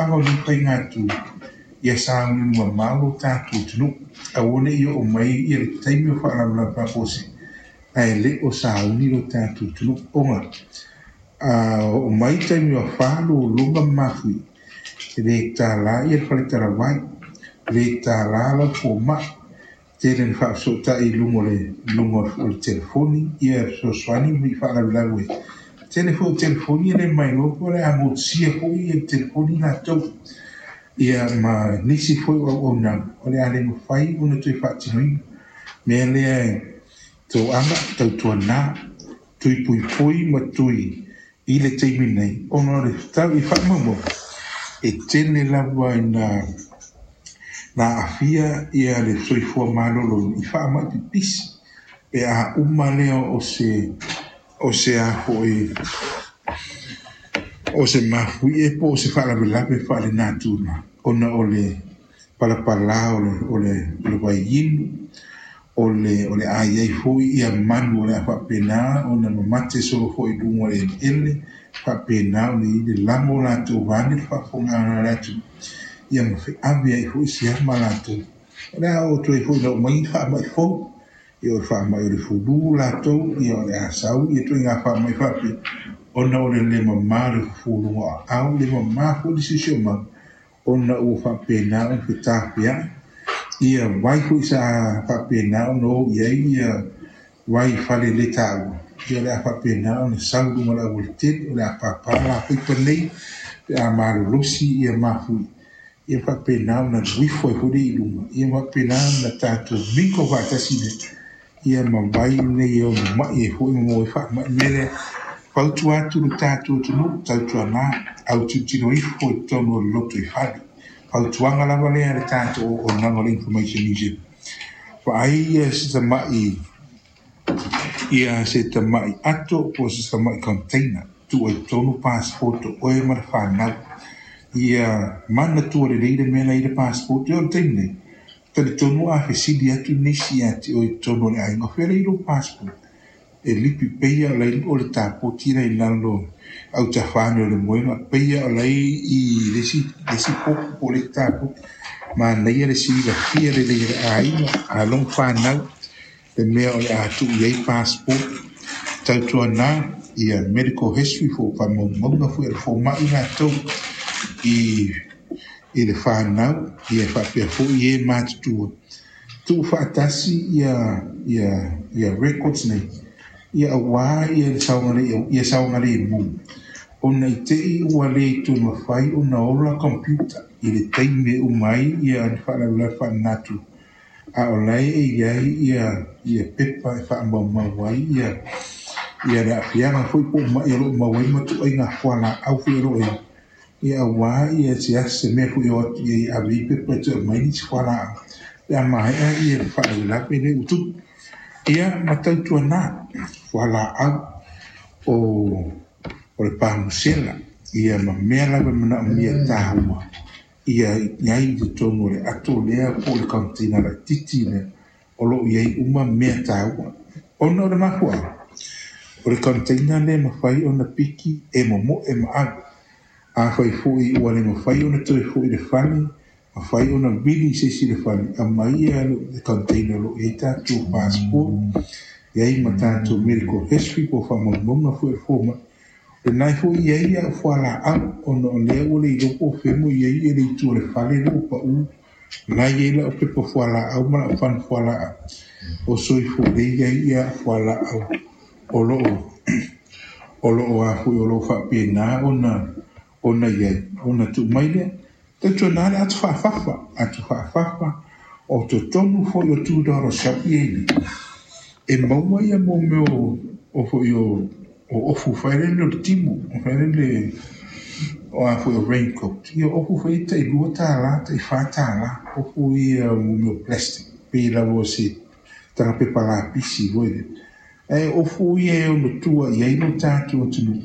Mafuaaga o nei faiga tu, ia sauniuni mamao lo tatou atunuu, aua ne i oo mai ia le taimi o faalavelave faafuasei ae le o sauni lo tatou atunuu, ona a oo mai taimi o afa, lologa ma mafuie, e le tala ia le faletalavai, le tala lau fomai, tele ina faafesootai i luga o le telefoni ia fesoasoani i faalavelave. Tele foi o telefoni e le mailoa po o le a motusia foi ia le telefoni latou ia ma nisi foi o auaunaga o le a le mafai ona toe faatinoina. Mea lea e toaga, tautuana, tui puipui ma tui i le taimi nei, ona o le tau i faamaumauga e tele lava ina na aafia ia le soifua maloloina i faamai pipisi pe a uma lea o se a foi o se mafuie po o se faalavelave faalenatura, ona o le palapala o le vaiinu o le a iai foi ia manu o le a faapena ona mamate solo foi i luga o le eleele, faapena ona i ai le lago latou vaeane le faafofogaaga a le atunuu ia ma feave ai foi siama latou. O le a oo atu ai foi ina oo mai faamai fou, ia o le faamai o le fulu latou, ia o le a sau ia ituaiga faamai faapea, ona o le le mama o le fufuluga o aau, le mama foi le siosiomaga, ona ua faapena ona fetafeai ia vai foi sa faapena ona o i ai ia vai fale le taua, ia o le a faapena ona sau i luga o le aualatele, o le a pāpā lapaipa nei pe a malolosi ia mafui, ia faapena ona alu ifo ai foi lea i luga, ia faapena ona tatou mingle faatasi lea ia ma vai nei e ono mai ai foi ma maua ai faamai. Mea lea, fautua atu le tatou atunuu, tautuana, autilotilo ifo i totonu o le lotoifale. Fautuaga lava lea le tatou auaunaga o le Information New Zealand. Vaai ia se tamai ia se tamai ato po o se tamai container, tuu ai totonu passport o oe ma le fanau, ia manatua lelei le mea la i le passport. O le taimi nei, talitonu a fesili atu nisi ia te oe i totonu o le aiga, o fea le i lou passport, e lipi peia o lai o le tapoti la i lalo autafane o le moega peia o lai i le isi popu po o le isi tapoti. Manaia le silafia lelei e le aiga, alo ma fanau, le mea o le a tuu i ai passport. Tautuana ia medical history fo faamaumauga foi a le fomai latou i le fanau, ia faapea foi e matutua tuu faatasi ia records nei, ia aua ia le saogalemu, ia saogalemu, ona i te i ua le toe mafai ona ola computer i le taimi e uma ai ia le faalavelave faalenatura, a o la e i ai ia pepa e faamaumau ai ia le aafiaga foi po o mai o lo o maua ai ma ituaiga fualaau foi o lo o i ia, aua ia se asi se mea foi o atu i ave i pepa e toe aumai nisi fualaau pe a maea ia le faalavelave lea ua tupu. Ia ma tautuana fualaau o le pamusela ia ma mea lava e manaomia taua ia i ai i totonu o le ato lea po o le container laitiiti lea o lo o i ai uma mea taua, ona o le mafuaaga o le container lea e mafai ona piki e momoe ma ave. Afai foi ua le mafai ona toe foi i le fale, mafai ona vili i se isi le fale, aumai ia le container o lo o i ai tatou passport, i ai ma tatou medical history po o faamaumauga foi o le fomai lena foi i ai au fualaau, ona o lea ua le iloa po o fea mo i ai le itu o le fale lea ua pau la i ai lau pepa fualaau ma lau fana fualaau o soifua lea i ai ia fualaau o lo o a foi o lo o faapena ona i ai ona tuu mai lea. Tautuana le atu faafafa, atu faafafa o totonu foi o $2 shop ia nei e maua ia mo mea o foi o ofu fai le o le timu o fai le o a foi o raincoat ia ofu foi tai $2, tai $4 ofu ia mo mea o plastic pe lava o se taga pepa lapisi foi lea. Ae ofu ia e ono tua i ai lo tatou atunuu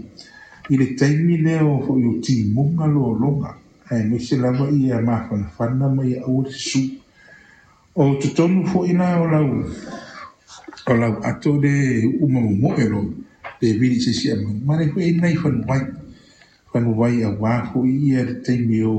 i le taimi lea o foi o timuga lologa, aemaise lava ia mafanafana ma ia aua le susu. O totonu foi la o lau ato le uma momoe lo pe vili se isi aumai ma le foi ai nai fanuai, fanuai aua foi ia le taimi o